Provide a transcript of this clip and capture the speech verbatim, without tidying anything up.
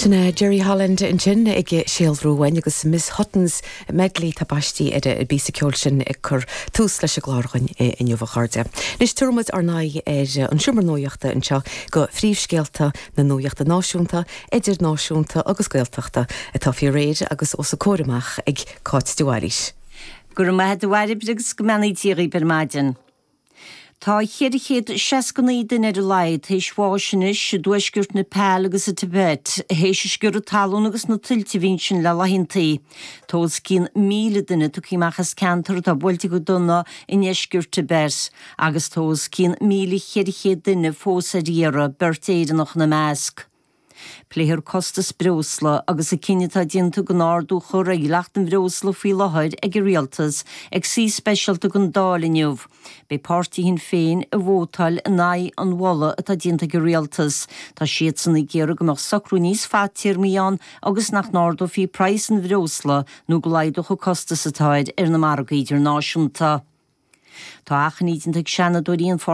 Sin é Jerry Holland ansin ag síolrú uainn agus Miss Hutton's Medley tá baistí ar an bpíosa ceoil sin ag cur tús leis an gclár againn inniu a chairde. Anois tabharfaimid ár n-aghaidh ar an seomra nuachta anseo go phríomhscéalta na nuachta náisiúnta, idirnáisiúnta agus Gaeltachta atá faoi réir agus os a comhair amach ag Cáit de Bhailís. Go raibh maith agat a Bhairbre agus go mbeannaí Dia dhaoibh ar maidin. Tá ceithre chéad seasca naoi duine ar a laghad théis bháis anois i dtuaisceart Nepal agus i Tibet, théis an sciorradh talún agus na tuilte a bhí ansin le laethantaí. Tá os cionn míle duine tugtha amach as ceantar atá buailte go dona i ndeisceart Tibet, agus tá os cionn míle cheithre chéad duine fós ar iarraidh, beirt Éireannach ina measc. Pléifear costas breosla agus an cinneadh atá déanta gan ardú a chur ar dhleacht an bhreosla faoi láthair ag an rialtas ag suí speisialta den Dáil inniu. Beidh páirtí Shinn Féin ag vótáil in aghaidh an mholadh atá déanta ag an rialtas. Tá siadsan ag iarraidh go mbeadh socrú níos fadtéarmaí ann agus nach n-ardófaí praghas an bhreosla nó go laghdódh an costas atá air ar na margaí idirnáisiúnta. Tá achainí déanta ag seanadóirí an